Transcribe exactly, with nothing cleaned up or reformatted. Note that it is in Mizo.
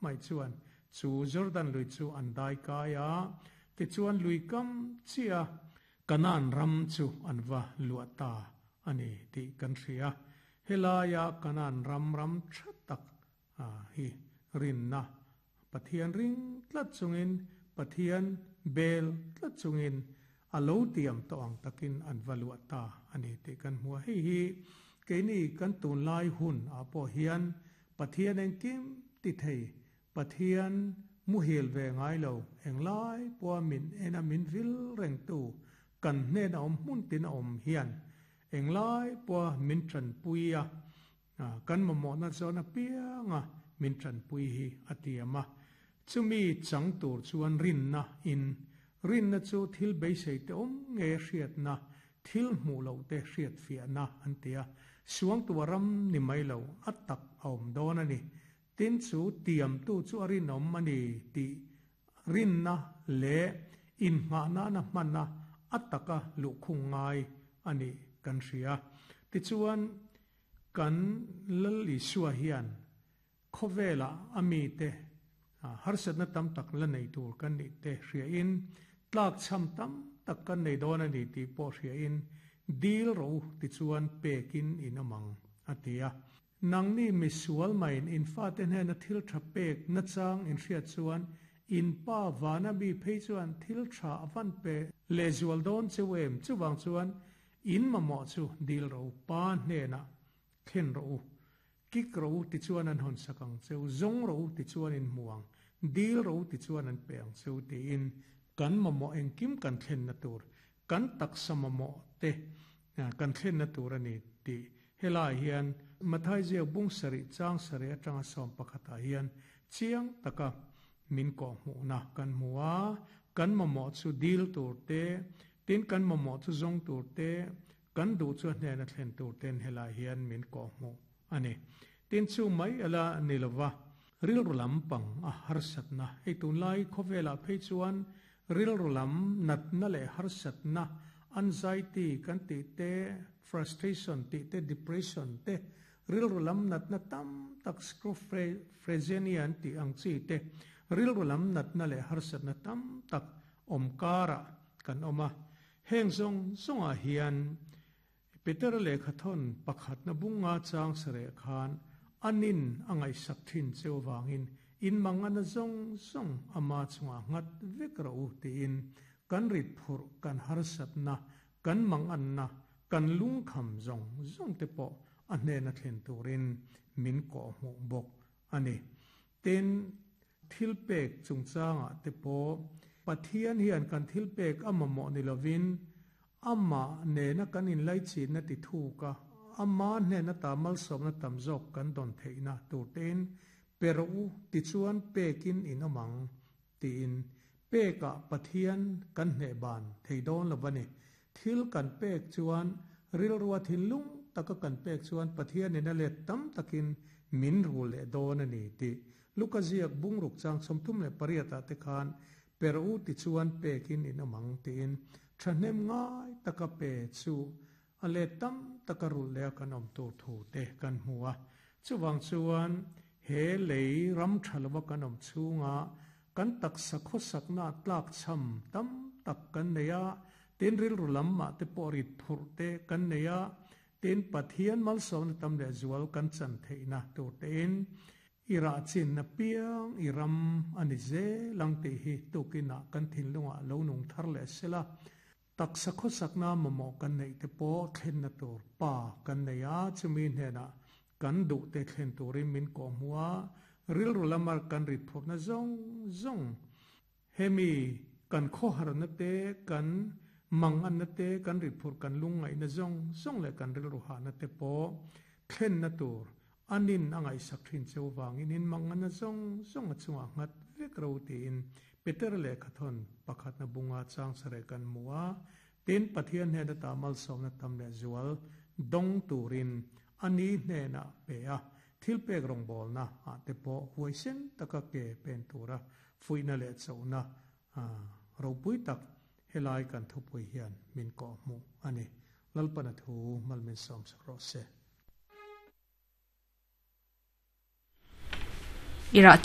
mai chuan chu Jordan lui chu an dai kai a ti chuan lui kam chia kanan ram chu an va luata ani ti kan hria helaya kanan ram ram thatak a hi rinna Pathian ring tlat chungin Pathian bel tlat chungin alo tiam to ang takin an valua ta ani te kan hmua hei hi keini kan tun lai hun a pawh hian Pathian engkim ti thei Pathian muhil ve ngai lo englai pawh min ena min vil reng tu kan hnen a awm hmun tin a awm hian englai pawh min than puia kan mamawh na zawn apianga min than pui hi a tiama chumi chang tur chuan rinna in rinna chu thil beisei te awm nge hriatna thil hmuh lo te hriat fiahna an tia suang tua ram ni mai lo a tak a awm dawn ani tin chu tiam tu chu a rinawm ani ti rinna le in hma na na hmanna a taka luhkhung ngai ani kan hria ti chuan kan lal Isua hian khawvela ami te harsatna tam tak la nei tur kan ni te hria in tlak cham tam tak kan nei dawn ani ti pawh hria in dil ro ti chuan pekin in amang atia nangni misual main in fa te hnen a thil tha pek na chang in hriat chuan in pa vana mi phei chuan thil tha avan pe le zual dawn chewem chuwang chuan in mamawh chu dil ro pa hnena thlen ro kik ro ti chuan an hon sakang cheu zong ro ti chuan in muang dil ro ti chuan an peang cheu ti in kan mamawh engkim kan thlen na tur kan taksa mamawh te kan thlen na tur ani ti helai hian Mathai ziak bung sari chang sari atanga sawm pakhata hian chiang taka min ko hmuhna kan hmua kan mamawh chu dil tur te tin kan mamawh chu zong tur te kan duh chu hnena thlen tur ten helai hian min ko hmu ani tin chu mai ala nilova rilru lampang a harsatna hei tunlai khawvela phei chuan rilru lam natna leh harsatna anxiety kan ti te frustration ti te depression te rilru lam natna tam tak schizophrenia ti ang chi te rilru lam natna leh harsatna tam tak awmkara kan awma heng zong zonga hian Peter lehkhathon pakhat na bunga chang sare khan anin angai sak thin cheu wangin in mangana zong zong ama chunga ngat vek ro ti in kan rit phur kan harsatna kan mangan na kan lung kham zong zong te po a hnena thlen turin min ko hmu bawk ani tin thil pek chungchanga te po Pathian hian kan thil pek ama mo ni lovin ama nena kan in lai chi na ti thu ka ama nena tamal som na tam zok kan don theina turten pero ti chuan pekin in amang tin peka Pathian kan hne ban theidon lobani thil kan pek chuan rilruwa thilung taka kan pek chuan Pathian in a let tam takin min ru le don ani ti Lukaziak bungruk chang somthum le pariata te khan pero ti chuan pekin in amang tin thahnem ngai taka pe chu ale tam taka rul le kan om tur thu te kan hmuwa chuwang chuan he lei ram thalwa kan om chunga kan tak sakho sakna tlak cham tam tak kan neya tin ril rulam ma te porit phur te kan neya tin Pathian mal som tam le zual kan chan theina tur ten ira chin na piang iram ani ze langte hi tukina kan thinlunga lo nung thar le sela tak sakho sakna mamo kan nei te po thlen na tur pa kan neya chumi hna kan du te thlen turin min ko muwa ril rulamar kan rit phur na zong zong hemi kan kho har na te kan mang an na te kan rit phur kan lungai na zong zong le kan ril ru ha na te po thlen na tur anin angai sak thin cheu wangin in mang an na zong zong a chunga ngat vek ro ti in Peter le khathon pakhat na bunga chang sare kan muwa tin Pathian he da tamal som na tam le zual dong turin ani hne na pe a thil pek rong bol na a te po huaisen taka ke pen tura fuina le chauna a ropui tak helai kan thupui hian min ko mu ani lalpana thu malmin som sak ro se Ira